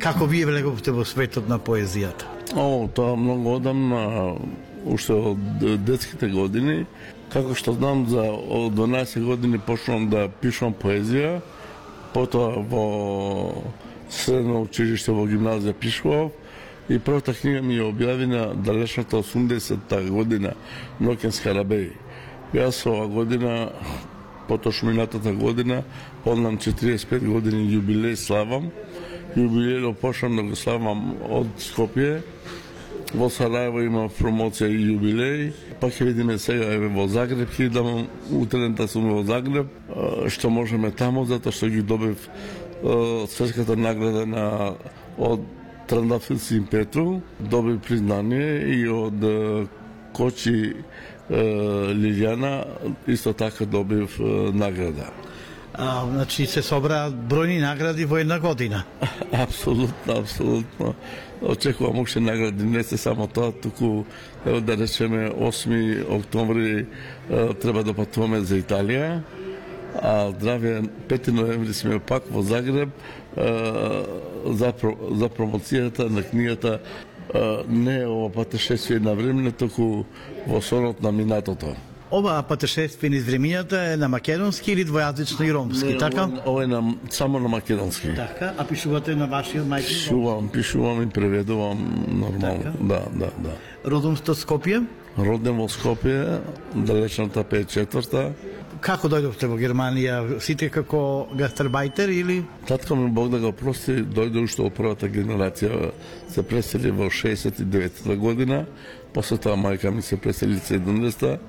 Како вие влеговте во светот на поезијата? Тоа многу одамна, уште од детските години. Како што знам, од 12 години почнам да пишувам поезија, потоа во средно училиште, во гимназија пишував, и првата книга ми ја објави на далечната 80-та година, Ноќен скарабеј. Јас ова година, поточно минатата година, однам 45 години јубилеј славам. Јубилејот почнам да го славам од Скопје. Во Сараево има промоција и јубилеј. Па ќе видиме сега во Загреб, ќе идам утрента сум во Загреб, што можеме таму, затоа што ги добив светската награда од Трандафил Син Петру, добив признание и од Кочи Лилјана исто така добив награда. Значи се собраат бројни награди во една година. Апсолутно. Очекувам уште награди, не се само тоа, туку да речеме 8 октомври треба да патуваме за Италија, а здравје 5 ноември сме пак во Загреб за промоцијата на книгата не ова патешествие на време, туку во сонот на минатото. Ова патешествие низ времињата е на македонски или двојазично и ромски, не, така? Ова е само на македонски. Така, а пишувате на вашиот мајчин? Пишувам и преведувам нормално. Така? Да. Родом сте од Скопје? Роден во Скопје, далечната 54-та. Како дојдовте во Германија? Сите како гастарбајтер или? Татко ми, Бог да го прости, дојде уште од првата генерација, се пресели во 69-та година, после тоа мајка ми се пресели 70-та,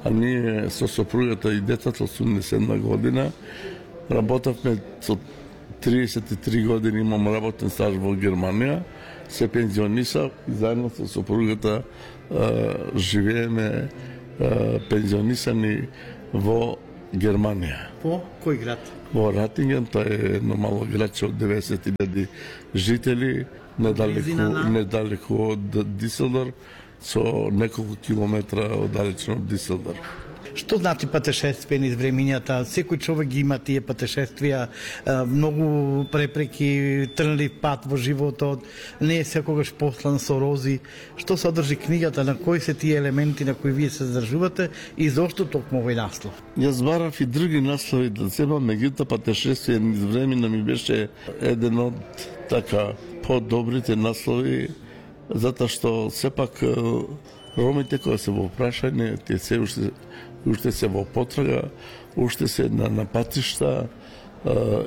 а ние со сопругата и детето 87 година работевме со 33 години, имам работен стаж во Германија, се пензионисав и заедно со сопругата живееме пензионисани во Германија. Во кој град? Во Ратинген, тоа е едно мало градче од 90.000 жители, недалеку од Диселдор, со неколку километра оддалечено од Диселдор. Што значи патешествие низ времињата? Секој човек ги има тие патешествија, многу препреки, трнлив пат во животот, не е секогаш послан со рози. Што содржи книгата, на кои се тие елементи на кои вие се задржувате и зошто токму овој наслов? Јас барав и други наслови да себам, меѓутоа патешествие низ времињата ми беше еден од така подобрите наслови, затоа што сепак ромите кои се во прашање, тие се уште се во потрага, уште се на патишта,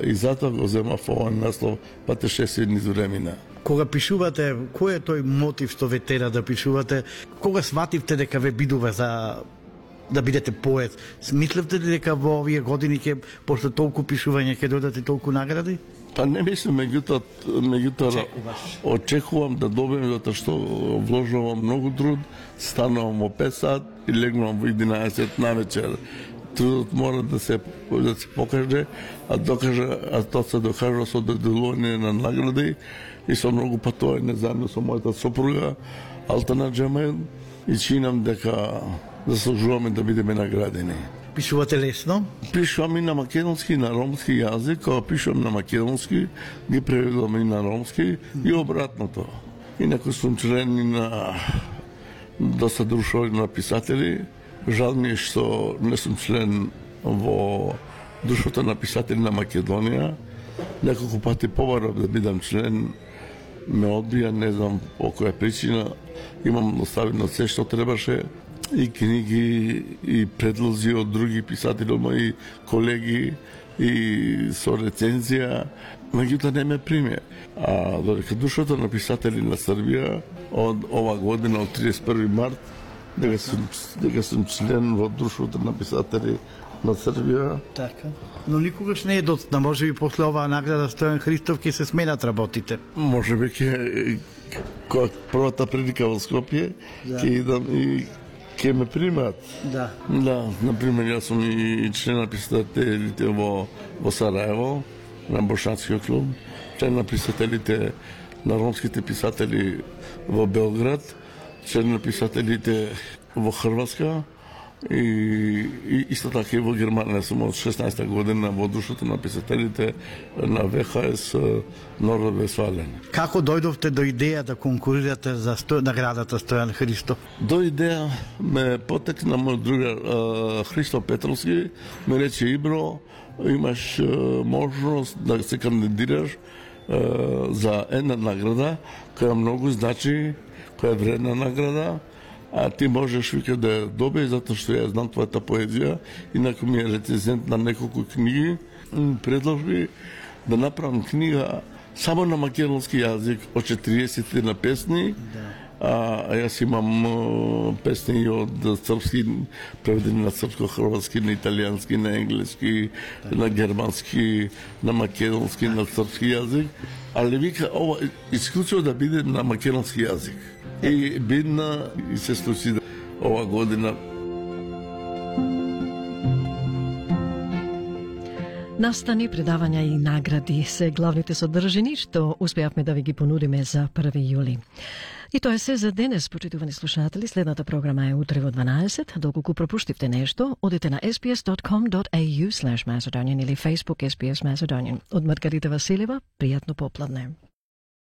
и затоа го земав овој наслов патешествие низ времина. Кога пишувате, кој е тој мотив што ве тера да пишувате? Кога свативте дека ве бидува за да бидете поет? Мислевте ли дека во овие години ќе после толку пишување ќе дојдат и толку награди? Па не мислам, меѓутоа очекувам да добием, затоа што вложувам многу труд, станувам во 5 сат и легнувам во 11 навечер. Трудот мора да се покаже, а тоа се докажува со доделување на награди и со многу патување заедно со мојата сопруга Алтана Джемаил, и чинам дека заслужуваме да бидеме наградени. Пишувате лесно? Пишувам и на македонски и на ромски јазик, кога пишувам на македонски, ги преведувам и на ромски и обратното. Инаку сум член и на доста друштво на писатели. Жал ми е што не сум член во друштвото на писатели на Македонија. Неколку пати побарав да бидам член, ме одбија, не знам по која причина. Имам оставено се што требаше, и книги, и предлози од други писатели, од мои колеги, и со рецензија, меѓутоа не ме приме. А додека друштвото на писатели на Србија од ова година, од 31 март, дека сум член во друштвото на писатели на Србија. Така. Но никогаш не е доцна, може би после оваа награда Стојан Христов ќе се сменат работите. Може би ќе првата прилика во Скопје, ќе идам и ќе ме примат. Да. Да, например, јас сум и член на писателите во Сараево, на Бошанскиот клуб, член на писателите, на ромските писатели во Белград, член на писателите во Хрватска, И исто така и во Германија сум од 16 година во душата на писателите на ВХС Норд-Вестфален. Како дојдовте до идеја да конкурирате за наградата Стојан Христов? До идеја ме потекна мој другар Христо Петровски, ме рече: Ибро, имаш можност да се кандидираш за една награда која многу значи, која е вредна награда, а ти можеш вика да ја добиеш затоа што ја знам твојата поезија, инаку ми е рецензент на неколку книги, предложи да направам книга само на македонски јазик од 40 на песни. А јас имам песни од српски, преведени на српско-хрватски, на италијански, на енглески, на германски, на македонски, на српски јазик, але вика ова исклучиво да биде на македонски јазик. И бидна и се случи ова година. Настани, предавања и награди се главните содржини што успеавме да ви ги понудиме за 1 јули. И тоа е се за денес, почитувани слушатели. Следната програма е утре во 12. Доколку пропуштивте нешто, одете на sbs.com.au/Macedonian или Facebook SBS Macedonian. Од Маргарита Василева, пријатно попладне.